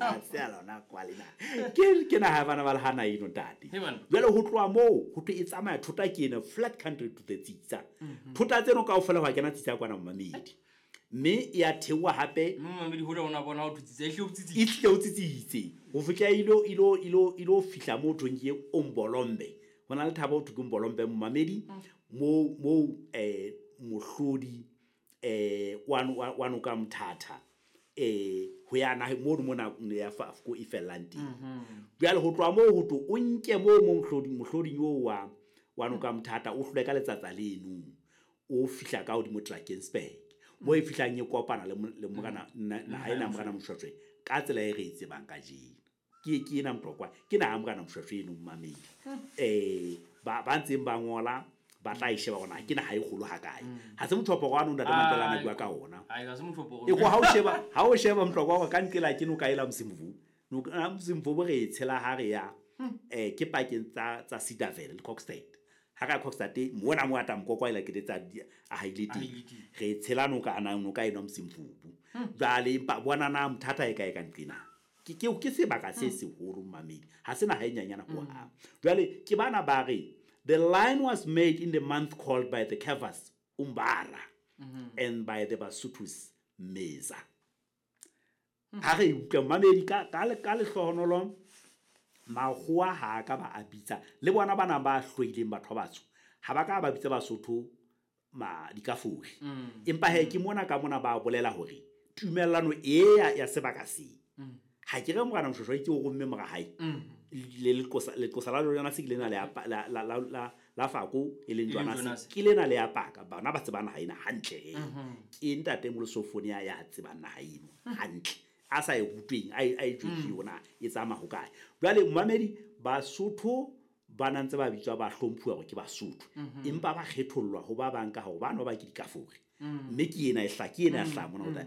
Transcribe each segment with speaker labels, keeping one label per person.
Speaker 1: Ha se a lona kwale na. Ke naha bana ba le hana eno ntate. Jwale ho tloha moo ho thwe e tsamaya thota ke ena flat country to the Tsitsa. Thota tseno kaofela ho kena Tsitsa kwana mamedi. Mme e a theoha hape.
Speaker 2: Mamedi ho ona bona ho Tsitsa e hle o tsitsitse.
Speaker 1: E hle o tsitsitse. Ho fihla ilo fihla moo thweng ke Ombolombe. Ho na le thaba ho thwe ke Ombolombe mamedi mo mohlodi wa noka Mthatha ho ya na mo mona ya Fafko e fellang teng. Jwale ho tloha moo ho to o nke moo mohloding oo wa noka Mthatha o hlole ka letsatsa leno o fihla ka hodimo Drakensberg mo e fihlang e kopana le morena naha ena morena Moshoeshoe ka tsela e re e tsebang kajeno. Ke ena Motlokwa ke naha morena Moshoeshoe eno mamedi. Ba ntseng ba ngola ba tla e sheba hore ke naha e kgolo hakae. Ha se mothopo wa ntate Mandela na bua ka ona.
Speaker 2: Ai ha se mothopo.
Speaker 1: E go ha o sheba Motlokwa hore ka nqela ke noka ela Msimvu. Noka Msimvu bo re tshela ha re ya ke pakeng tsa Cedarvale le Kokstad. Ha ka Kokstad mona mo ata Mokokwa ela ke tsa a haile teng. Re tshela noka ana noka eno Msimvu. Jwale empa bona na Mthatha e kae ka nqena. Ke sebaka se seholo mamedi. Ha se naha e nyanyana ho hang. Jwale ke bana ba re the line was made in the month called by the Kaffirs Umbara and by the Basutus Meza. Ha re utlwa mamedi ka lehlohonolo makgowa ha ka ba a bitsa le bona bana ba hloileng batho ba batsho ha ba ka ba bitsa Basotho ma dikafuri. Empa he ke mona ka mona ba bolela hore tumellano e ya sebaka se. Ha ke re morena Moshoeshoe ke o romme mora hae. Le leqosa la lona se ke lena le la Fako e leng Jonas ke lena le apaka bana ba tsebana ha ena hantle. Ke ntate Molosofonia ya tsebang naha eno hantle. A sa e rutweng a e jwetse yona e tsamaya ho kae. Jwale mamedi Basotho ba na ntse ba bitswa ba hlomphuwa hore ke Basotho. Empa ba kgethollwa ho ba bang ka hore bana ba ke dikafuri. Mme ke ena e hla ke ena hla mona hore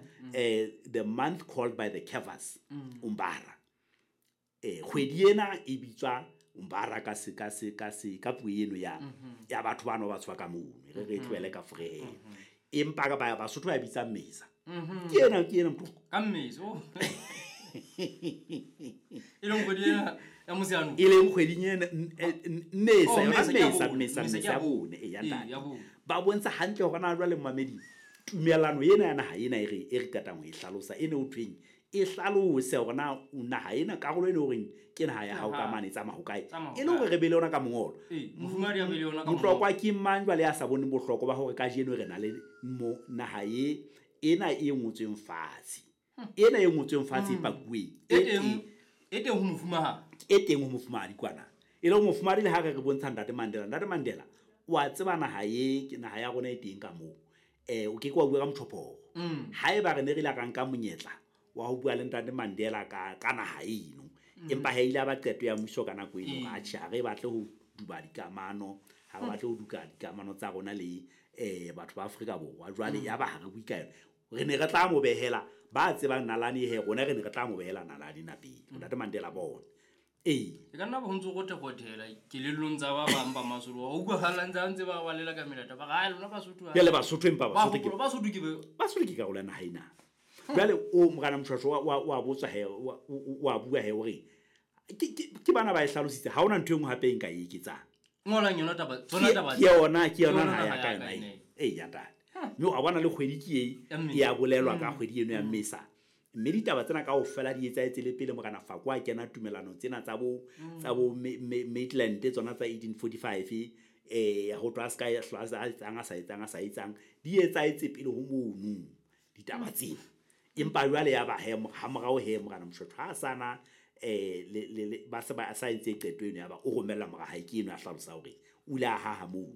Speaker 1: the month called by the Kaffirs Umbara. Kgwedi ena e bitswa Umbara ka se ka puo eno ya batho bana ba tswa ka mono re tlohele ka frehe. Empa ka ba Basotho ba bitsa Meza. Ke ena Motlokwa.
Speaker 2: Ka Meza. E leng kgwedi ena ya Motsheanong.
Speaker 1: E leng kgwedi ena Mesa ya bone e ya ntate. Ba bontsha hantle hore na jwale mamedi tumellano ena ya naha ena e re qetang ho e hlalosa ene o thweng e hlalose hore na naha ena karolo ena horeng ke naha ya hao ka mane e tsamaya ho kae e le hore re be le yona ka mongolo.
Speaker 2: Mofumahadi a be le yona ka mongolo.
Speaker 1: Motlokwa ke mang jwale ya sa boneng bohlokwa ba hore kajeno re na le mo naha e ena e ngotsweng fatshe. Ena e ngotsweng fatshe e pakuweng.
Speaker 2: E teng ho mofumahadi.
Speaker 1: E teng ho mofumahadi kwana. E le mofumahadi le ha re bontsha ntate Mandela. Ntate Mandela wa tseba naha e ke naha ya rona e teng ka moo. O ke ke wa bua ka mothopo. Haeba re ne re la ka nka monyetla wa ho bua le ntate Mandela ka naha eno. Empa ha ile ba qeto ya mmuso ka nako eno a tjhe re batle ho duba dikamano, ha re batle ho duka dikamano tsa rona le batho ba Afrika Borwa. Jwale ya ba ha re bue ka yona. Re ne re tla mo behela ba tsebang nalane he rona re ne re tla mo behela nalane na pele. Ntate Mandela bona.
Speaker 2: E ka nna bo ntse go thekothela kelellong tsa ba bang ba Masotho. O utlwahala ntse ba balela ka melata ba ga lona Basotho.
Speaker 1: Jwale Basotho empa
Speaker 2: Basotho ke
Speaker 1: Basotho ke karolo ya naha ena. Jwale o morena Moshoeshoe wa botswa he wa bua he hore ke bana ba e hlalositse ha ona ntho e nngwe hape e nka e eketsang.
Speaker 2: Ngolang yona taba tsona taba.
Speaker 1: Ke yona naha ya ka yona e ya ntate. Mme wa bona le kgwedi ke e ya bolelwa ka kgwedi eno ya Mmesa. Mme ditaba tsena kaofela di etsahetse le pele morena Fako a kena tumelano tsena tsa bo Maitland tsona tsa 1845 ho tloha ska a sa etsang di etsahetse pele ho mono ditaba tsena. Empa jwale ya ba he ha morao he morena Moshoeshoe ha sana le ba se ba sa entse qeto eno ya ba o romella mora hae ke eno a hlalosa hore o ile a haha mono.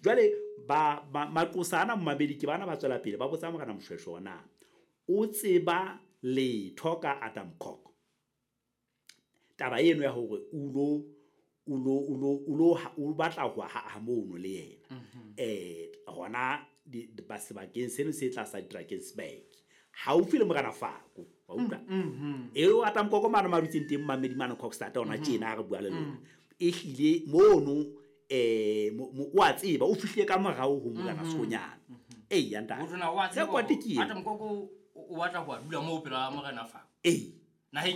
Speaker 1: Jwale ba maqosa ana mabedi ke bana ba tswela pele ba botsa morena Moshoeshoe na o tseba letho ka Adam Kok. Taba eno ya hore o batla ho haha mono le yena. Hona ba sebakeng seno se tlasa Drakensberg. Haufi le morena Fako. Wa utlwa? Eo Adam Kok mane madutseng teng mamedi mane Kokstad ona tjena ha re bua le lona. E hlile mono o a tseba o fihlile ka morao ho morena Sekgonyana. Ya ntate.
Speaker 2: Adam Kok o batla ho dula moo pela morena Fako.
Speaker 1: Ee.
Speaker 2: Naheng